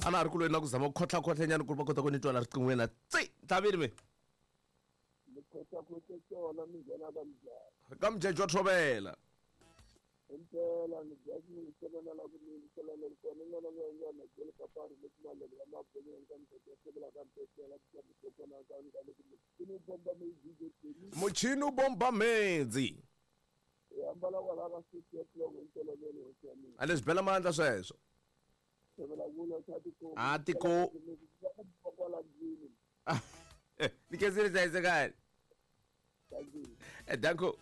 A na ha ri ku lweni na ku zama ku khotlha-khotlhanyana ku ri va kota ku ni twa la riqinghweni la tsi tlhavini mi. Mi khotlha-khotlhe tona mi nghena ka mujeko. Ka mujeko wa thovela. Impela ni dya xinyiselana la ku ni yingiselana ri kona n'wana n'wana n'wana byele papari le kumalele ya mabonyeni ka mujeko ya sebela ka mpetela ka mujeko na ka ka le ku muchini wu bomba mhedzi Muchini wu bomba mhedzi. Hi ambala kwala ka 6 o'clock hi ntolovelo hosi ya mina. A leswi bela mandla sweswo. Sebela kula swa tiko. A tiko. Kwala ndlwini. Ni khensile hlayisekani. Thank you. Danko.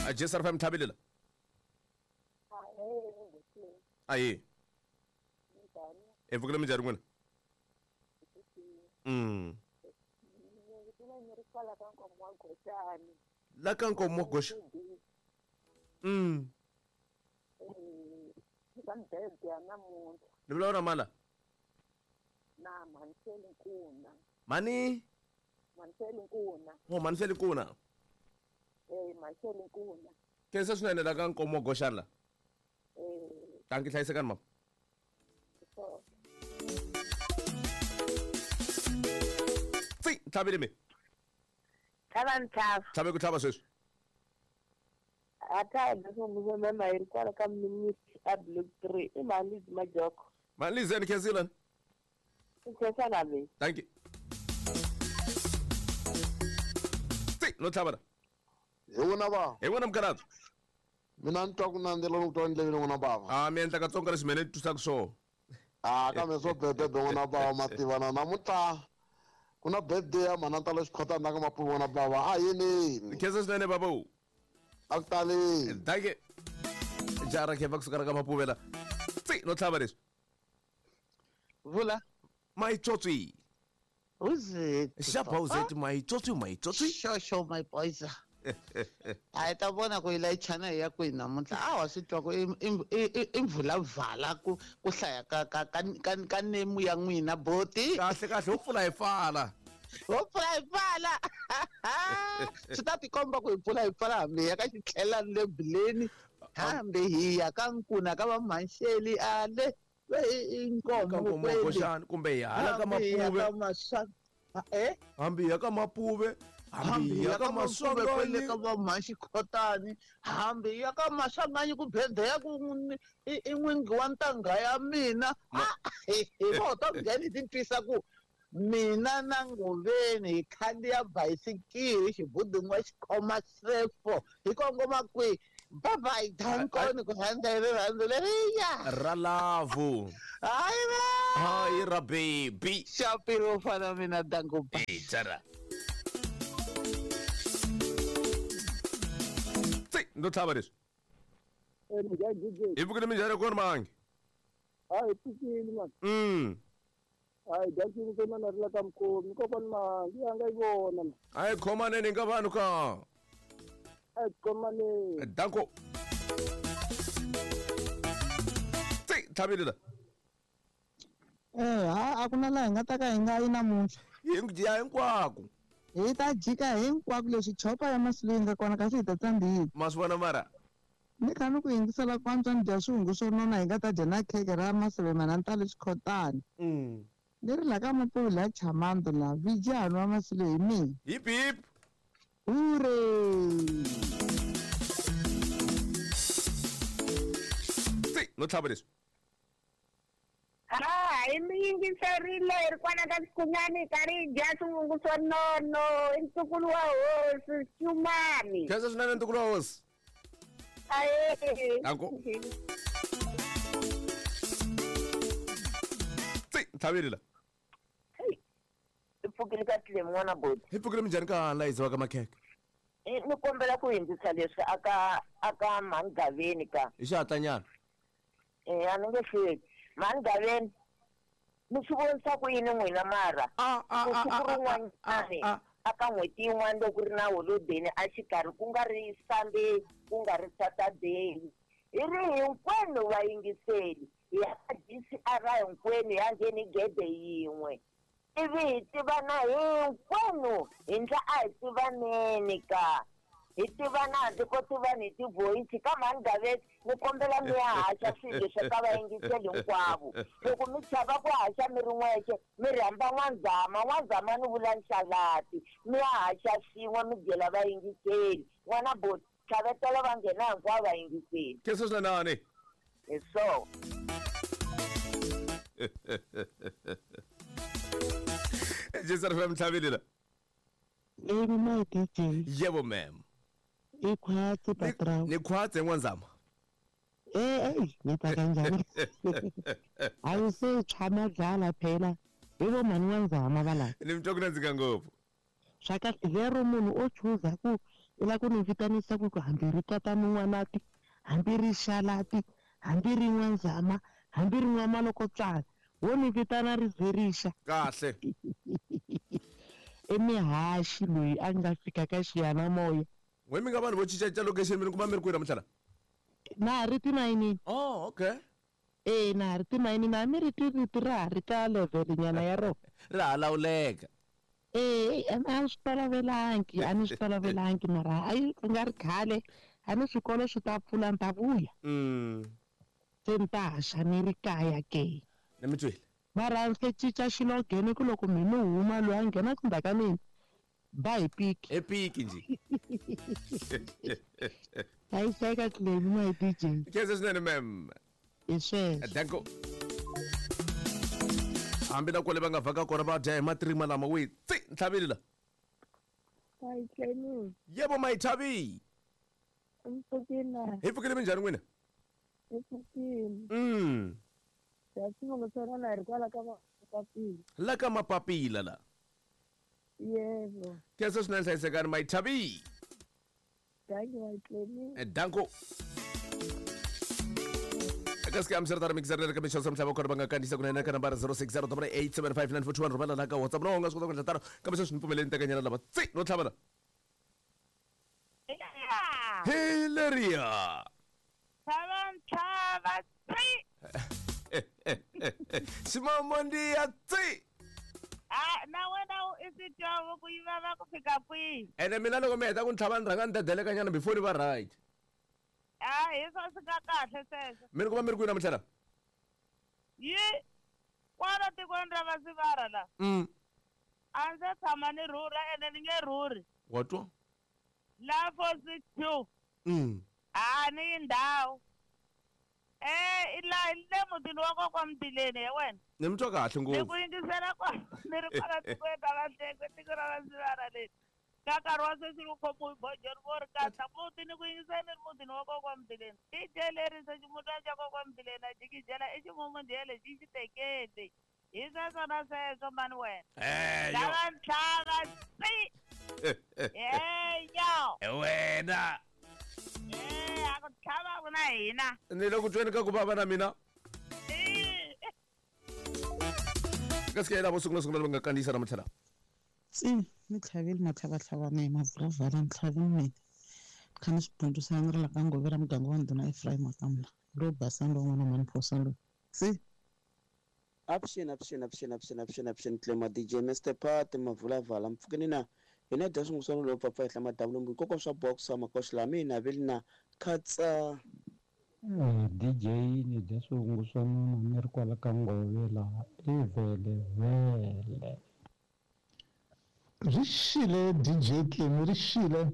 A Jesar fam thabelela. Ayi. E vukile minjhani n'wina? La ka nkomo wa goxa. Ka mbhebhe ya namuntlha. Ni vulavula mala. Na Mhaniseli Nkuna. Mani? Mhaniseli Nkuna. Oh, Mhaniseli Nkuna. Eh, Mhaniseli Nkuna. Khensa swinene la ka nkomo wa goxani la. Eh. Tanki hlayisekani mama. So. Tsi, tlhavile mi. Tlhava ntlhava. Tlhave ku tlhava sweswi. A ta hi leswo mema hi ri kwala ka ministry a block 3 i Mhalizi Majoko. Mhalizi ni khensile. I khensa na mina. Thank you. Tsi, no tlhava la. Hi wena bava. Hi wena mukhalabye. Mina ni twa ku nandzela loko twa ndleveni n'wana bava. A mi endla katsongo leswi mina ni twisaka swona. A kambe swo bebebe n'wana bava mativana namuntlha ku na birthday ya mhana ntalo xikhotana na ka mapuvi n'wana bava a yinini. Khensa swinene baba. A ku taleni. Thank you. Jara khe va kusuka ra ka mapuvela. Tsi, no tlhava leswi. Vula. Maitsotsi. Who's it? Xapa uzeti maitsotsi maitsotsi. Sure, sure, my boys. A hi ta vona ku yi layichana hi ya kwihi namuntlha a wa swi twa ku i mvulavala ku ku hlaya ka ka ka ka ka nemu ya n'wina boti kahle kahle ho pfula hi pfala ho pfula hi pfala swi ta tikomba ku hi pfula hi pfala hambi hi ya ka xitlhelani le bileni hambi hi ya ka nkuna ka vamhanxeli a le i nkomo kweli kumbe hi hala ka mapuve eh hambi ya ka mapuve hambi ya ka maswanganyi ka vamhanxi khotani hambi ya ka maswanganyi ku bhedhe ya ku i n'wingi wa ntangha ya mina hi vo ta ngheni ti twisa ku mina na Ngoveni hi khandziya bayisikiri xibudun'wa xi khoma sefo hi kongoma kwihi bye bye dankoni ku rhandza hi rirhandzu leriya ra love hayi va hayi ra baby xapiro u fana mina danko jara tsi ndo tlhava leswi hi pfukile minjhani kona mangi hayi pfukile man hayi dakini ke mana ri la ka mukhomi kokwani mangi ya nga yi vona a hi khomaneni nga vanhu ka a hi khomaneni danko tsi tlhavile la Eh, ha a ku na laha hi nga ta ka hi nga yi namuntlha. Hi ya hinkwako. Hi ta jika hinkwako leswi chopa ya masilu yi nga kona kasi hi ta tsandzika. Ma swi vona mara? Ni kha ni ku yingisela ku antswa ni dya swihungu swo nona hi nga ta dya na kheke ra maseve manantalo xikhotani. Ni ri la ka Mapuvi la Chamando la vijani wa masilu hi mina. Hip hip. Hooray! Tsi, no tlhava leswi. Ha, hi mi yingiserile hi ri kwana ka Xikunyani hi karhi hi dya swivungu swo nono i ntukulu wa hosi Xumani. Khensa swinene ntukulu wa hosi. Ahe. Danko. Tsi, tlhavile la. Hi pfukile ka tlilemi n'wana boti. Hi pfukile minjhani ka la yiziwaka makhekhe? Ni kombela ku hindzisa leswi aka aka mhani ka. Hi xihatlanyana. Eh, a ni nge hlweli. Mhani Gaveni, mi swi vonisa ku yini n'wina mara? Ku siku rin'wanyani aka n'hweti yin'wana loko ku ri na holodeni a xikarhi ku nga ri Sunday ku nga ri Saturday hi ri hinkwenu vayingiseli hi ya ka D_C_R hinkwenu hi ya ngheni gede yin'we ivi hi tivana hinkwenu hi ndla a hi tivaneni ka Hi tivana handle ko tivana hi tivoyisi ka mhani Gaveni ni kombela mi ya haxa swilo leswi ka vayingiseli hinkwavo. Loko mi chava ku haxa mi ri n'wexe mi rhamba N'wanzama, N'wanzama ni vula Nxalati mi ya haxa swin'we mi byela vayingiseli. N'wana boti tlhavetela va nghena hinkwavo vayingiseli. Khensa swinene. Hi swona. Jesi ri mtlhavile la. Lady my DJ. Yebo ma'am. I khwatsi patrao. Ni khwatsi n'wanzama. Eh eh ni ta kanjani. Ayi se tshama dlala phela. Hi vo mhani n'wanzama va la. Ni mi twa ku nandzika ngopfu. Swa kahle lero munhu o chuza ku i la ku ni vitanisa ku hambi ri tatani n'wanati, hambi ri xalati, hambi ri n'wanzama, hambi ri n'wamalokotswana. Wo ni vitana ri ze rixa. Kahle. I mihaxi loyi a nga fika ka xiyanimoya. N'we mi nga vanhu vo cincacinca location mi ni kuma mi ri kwihi namuntlha la? Na ha ri timayinini. Oh, okay. E na ha ri timayinini a mi ri twi rito ra ha ri ka level nyana ya rona. Ra ha lawuleka. E a ni swi tolovelangi, a ni swi tolovelangi mara hayi ku nga ri khale a ni swikolo swi ta pfula ni ta vuya. Se ni ta haxa ni ri kaya ke. Ni mi twile. Mara se cinca xilogene ku loko mi ni huma loyi a nghenaka ndzhaku ka mina ba hi piki. Hi piki njhe. Hlayiseka Clemy my DJ. Khensa swinene ma'am. Hi sweswo. Danko. Hambi na kwale va nga vhaka kona va dya hi matirima lama we tsi ntlhavile la. Hi Clemy. Yebo my Thabi. Mpfukile. Hi pfukile minjhani n'wina? Hi pfukile. Ya xivongo xa n'wana hi ri kwala ka mapapila. La ka mapapila la. Yebo. Khensa swinene hlayisekani my Thabi. Thank you my Clemy. Danko. Eka scam swi ri tano mixer leri ka mixo swa mhlava kona va nga kandziyisa kunene ka nambara 0608875941 rhumela la ka WhatsApp no u nga swi kota ku endla tano kambe sweswi ni pfumeleni tekanyana lava tsi no tlhava la. Hi leriya. Tlhava ntlhava tsi. Ximamondiya tsi. A na wena i swi twa ku yi vava ku fika kwihi. Ene mina loko mi heta ku ni tlhava ni rhanga ni dedelekanyana before ni va right. A hi swo swi nga kahle sweswo. Mi ri ku va mi ri kwihi namuntlha la? Yi kwala tikweni ra Vasivara la. A ndzi se tshama ni rhurha ene ni nge rhurhi. Wa twa? La 462. A ni yi ndhawu. Eh, la le mutini wa kokwa Mtileni he wena. Ni mi twa kahle Ni ku ngopfu. yingisela kwa ni ri kwala tikweni ra Vahlengwe tiko ra Vasivara leri. Ka nkarhi wa sweswi ri khomiwe bojoni vo ri katla muti ni ku yingisela ni ri mutini wa kokwa Mtileni. DJ leri se ximutana xa kokwa Mtileni a jikijela i ximumundhele xi xi tekele. Hi sweswo na sweswo mani wena. Eyo. Lava ntlhava tsi. Eyo. Wena. Eh, a ku tlhava na hina. Ni le ku tweni ka ku vava na mina. Ka sike lavo sungula sungula va nga kandziyisa namuntlha la. Tsi ni tlhavile matlhavatlhavana hi mavhulavhala ni tlhavile mina. Kha ni swi dyondzisa ni ri la ka ngove ra muganga wa ndhuna Ephraim wa ka mina. Lowo basa lowu n'wana mhani Phosa loyi. Tsi. Avuxeni avuxeni avuxeni avuxeni avuxeni avuxeni Clema DJ Mr Pat Mavulavala mpfukeni na hina dya swinguswana lowu pfapfa henhla madavulo koko swa boxa makoxi la mina veli na khatsa DJ ni dya swihunguswana ni ri kwala ka ngove laha i vele vele. Ri xile DJ Clemy ri xile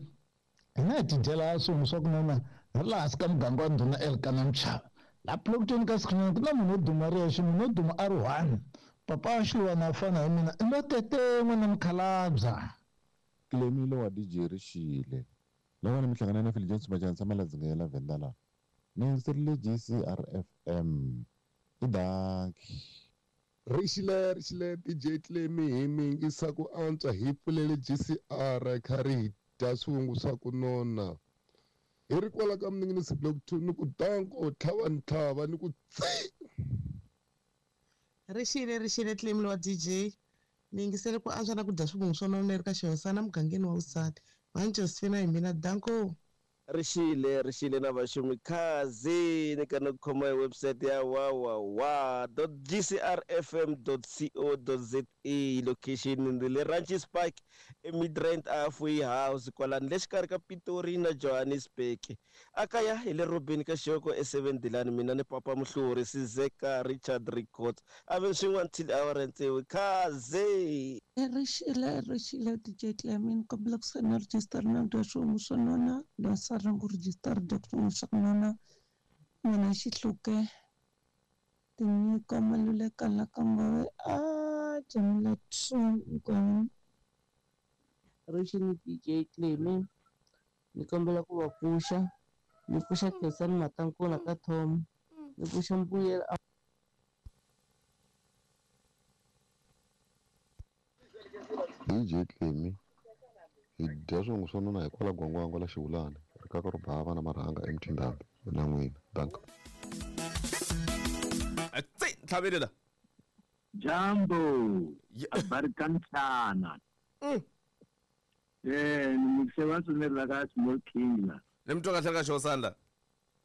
hina hi tidyela swihungu swa ku nona ri laha hansi ka muganga wa ndhuna Elkana Mchava. La plokutweni ka sikunene ku na munhu wo duma ri yexe munhu wo duma a ri one papa wa xiluwana a fana hi mina i lo tete n'wana mukhalabya. Clemy wa DJ ri xile loko ni mi hlangana na Phil Jones Majanisa Maladzinga ya la Venda la ni yingiserile GCRFM i danki. Ri xile ri xile DJ Clemy hi mi yingisa ku antswa hi pfulele GCR kha ri hi dya swihungu swa ku nona. Hi ri kwala ka Mninginisi Block 2 ni ku danko tlhava ntlhava ni ku tsi. Ri xile ri xile Clemy wa DJ ni yingisele ku antswa na ku dya swivungu swo nona ri ka xihosana mugangeni wa vusati. Mhani Josephine hi mina danko. Rixile rixile na vaxumi khazi ni ka ni khoma hi website ya www.gcrfm.co.za location ni le Ranches Park eMidrand Halfway House kwalani le xikarhi ka Pitori na Johannesburg. Akaya hi le Robin ka Xoko e7 Dilani mina ni Papa Muhluri Sizeka Richard Records ave swin'wana until hour and tsevu khazi. Rixile rixile DJ Clemin kombela ku sayina register na dya swihungu swo nona loyi ku register dya swihungu swa ku nona n'wana xihluke tinyiko maluleka la ka ngove a jamila tsongo. Rixile DJ Clemi ni kombela ku va pfuxa ni pfuxa Khensani Matankula ka Tom ni pfuxa Mbuyelo. DJ Clemi hi dya swihungu swo nona hikwalaho gwangwangwa la xivulani ri kaka ro bava na marhanga emtindhambi na n'wina danka. Tsi tlhavelela. Jambo habari kamtshana. Ni la ka small king la. Ni mtwa kahle ka xo sandla.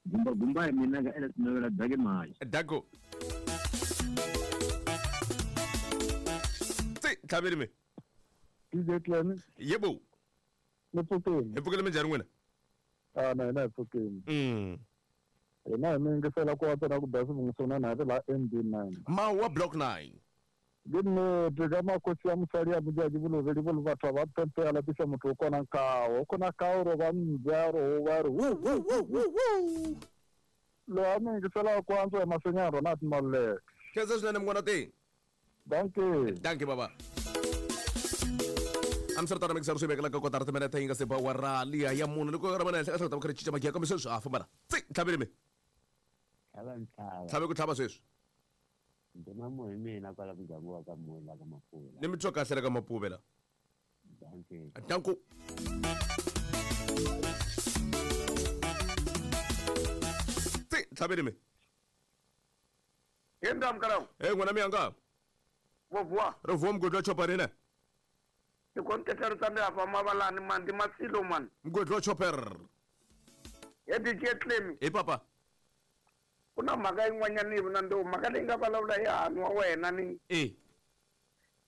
Gumba gumba hi mina ka ela sinovela dake mayi. Dako. Tsi tlhaveli me. DJ Clemi. Yebo. Ni pfukile. Hi pfukile minjhani n'wina? A na hina hi pfukile. Hina hi mi yingisela ku antswa na ku dya swivungu swo nona hi ri laha MD9. Mawa block 9. Ke ka makosi ya mosadi ya mojadi bolovedi bo le batho ba pempe ya lapisa motho o kona kao o kona kao ro ba mbya ro ba re wu wu wu wu wu lo a mi yingisela ku antswa ya rona Maluleke. Khensa swinene munghana te. Dankie. Dankie baba. Amsterdam mixer swi vekela ka kotara timinete yi nga se ba wa rali ya munhu loko ra mana henhla ka hlota va kha ri cinca magiya kambe sweswi a famba la tsi tlhaveli me tlhave ku tlhava sweswi ndima hi mina kwala muganga wa ka Mola ka Mapula ni mi twa kahle la ka Mapuve la. Danko. Tsi tlhaveli me. Yenda mkarau. Eh ngwana miyanga. Vovua. Ro vuwa mgodlo wa chopper ina. Tikontetero tsa me afa mabalane man di masilo man. Mgodlo wa chopper. Ye DJ Clemi. E papa. Kuna mhaka yin'wanyana yi vona ndo mhaka leyi nga vulavula hi hanu wa wena ni. E.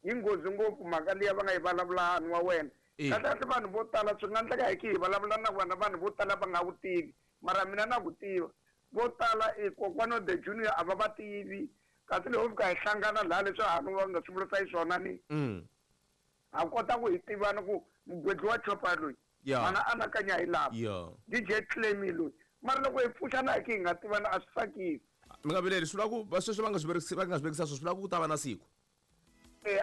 Yi nghozi ngopfu mhaka liya va nga yi vulavula hanu wa wena. Kahle kahle vanhu vo tala swi nga endleka hi ki hi vulavula na vona vanhu vo tala va nga wu tivi. Mara mina na ku tiva. Vo tala i kokwana the junior a va va tivi. Kasi loko fika hi hlangana laha leswi hanu va nga swi vurisa xiswona ni. A kota ku hi tivana ku mugwedli wa chopper loyi. Mana anakanya hi lava. DJ Clemi loyi. Mara loko hi pfuxana hi ki hi nga tivana a swi tsakisi. Mi nga vileli swi vula ku va sweswi va nga swi vekisi va nga swi vekisa swi vula ku ta va na siku.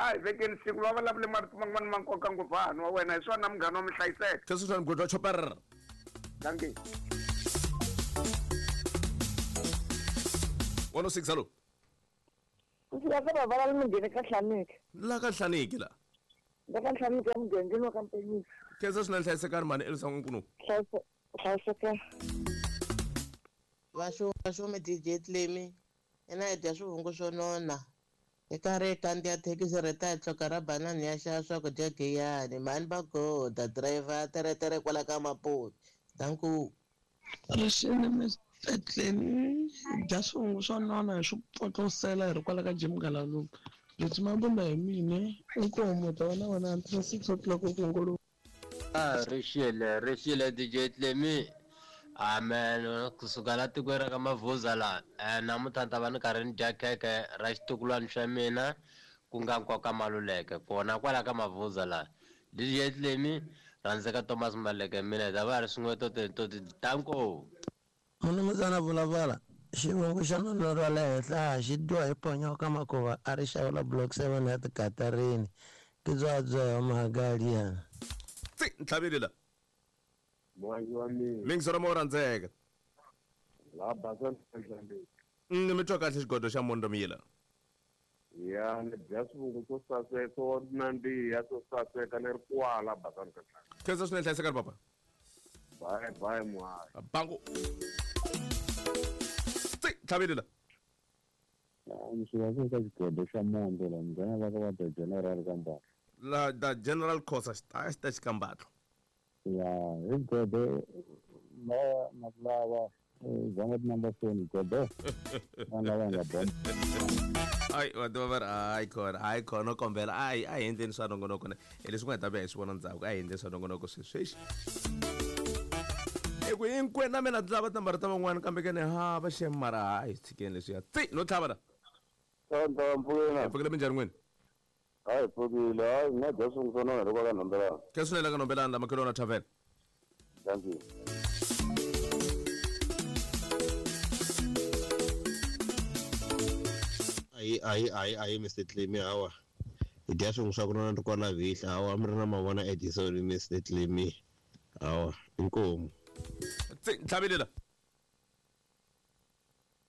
A hi vekeni siku va vulavule marito man'wana ma nkoka ngopfu hanu wa wena hi swona munghana wa mi hlayiseka. Sweswi swa mugwedli wa chopper. Dankie. 106 hello. Ku fika ka bava la mungheni ka Hlaniki. La ka Hlaniki la. La ka Hlaniki ya mugangeni wa ka Mpenyisa. Khensa swinene hlayisekani mhani Elisa N'wankunu. Hlayiseka. Vaxumi DJ Clemi ina hi dya swivungu swo nona hi karhi hi kandziya thekisi ri ta hi hloka ra banani ya xava swakudya giyani mhani va goda driver teretere kwala ka Mapuve danku. Rixile Mr Clemi dya swivungu swo nona hi swi pfotlosela hi ri kwala ka Jim Galaluka leswi mabunda hi mina inkomu ta wena wena until 6 o'clock ku ngolo. Rixile rixile DJ Clemi. Amen kusuka la tikweni ra ka Mavuza la namuntlha ni ta va ni karhi ni dya khekhe ra xitukulwana xa mina ku nga Nkoka Maluleke kona kwala ka Mavuza la DJ Clemi rhandzeka Thomas Maluleke mina hi ta va ri swin'we toti danko. Munumuzana vulavula xivongo xa nuna ra le henhla xi dyiwa hi ponyoka makuva a ri xavela block 7 ya tikatarini ke byabya mahagaliyana. Tsi ntlhaveli la. Mwangi wa mina. Mingisoro mo rhandzeka. La basa ntlhaveli. Ni mi twa kahle xigodo xa Mondo Mila. Ya ni dya swivungu swo saseka swo nandziha swo saseka ni ri kwala basa ntlhaveli. Khensa swinene hlayisekani papa. Bye bye muhari. Bangu. Tsi ntlhaveli la. Ndzi ka xigodo xa Mondo la munghana va ka va the general Kambatlo. La the general Khosa xi ta xikambatlo. Ya hi godo Na ku lava zonga tinumber foni gobe vanhu lava nga bona. Ayi, va tiva va ri hayi khona, hayi khona, kombela ayi a hi endleni swa nongonoko ne hi leswi nga hi ta vuya hi swi vona ndzhaku. A hi endleni swa nongonoko sweswi hi ku hinkwenu na mina lava tinambara ta van'wana, kambe ke ni hava xem, mara hayi, tshikeni leswiya tsi no tlhava la. Tonto mpfukile. Hi pfukile, minjhani n'wini? Hayi, pfukile. Hayi, nga dya swingu swa nona loko ka nombelana. Ke swinene ka nombelana la makhelwana tavern. Thank you. Ayi ayi ayi ayi, Mr Clemy, hawa hi dya swin'we swa ku nona ri kwala vihla. Hawa, mi ri na mavona Edison, Mr Clemy, hawa inkomu. Tsi ntlhavile la.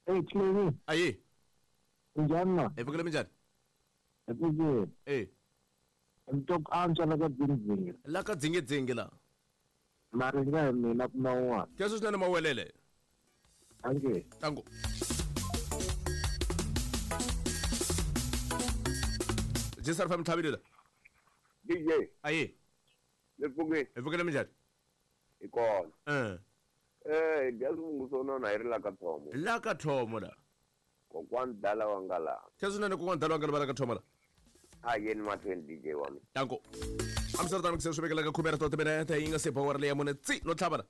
Hey, Clemy. Ayi. Njhani na? Hi pfukile, minjhani? Hi pfukile. E. Ni twa ku antswa la ka dzingidzingi. La ka dzingidzingi la. Mara nga hi mina kuma un'wana. Ke swi swinene, mawelele. Thank you. Tango. Jesar fam ntlhavile la. DJ. Ayi. Ni pfukile. Hi pfukile, minjhani? Hi kona. Eh. Eh, hi dya swivungu swo nona hi ri la ka thomo. La ka thomo la. Kokwani dala wa nga la. Ke swinene, kokwani dala wa nga la ka thomo la. A yeni mahlweni, DJ wa mina. Tango. Amsterdam kuse swi vekela ka khume ra to timinete yi nga se ba wara leya mune tsi no tlhava la.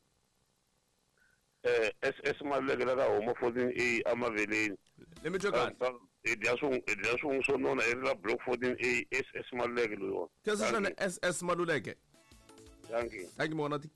Eh, SS Maluleke la ka huma 14A amaveleni. Le mi twe kahle. Hi dya swin'we swo nona hi ri la block 14A, SS Maluleke loyiwa. Ke swinene, SS Maluleke. Thank you. Thank you, Monati.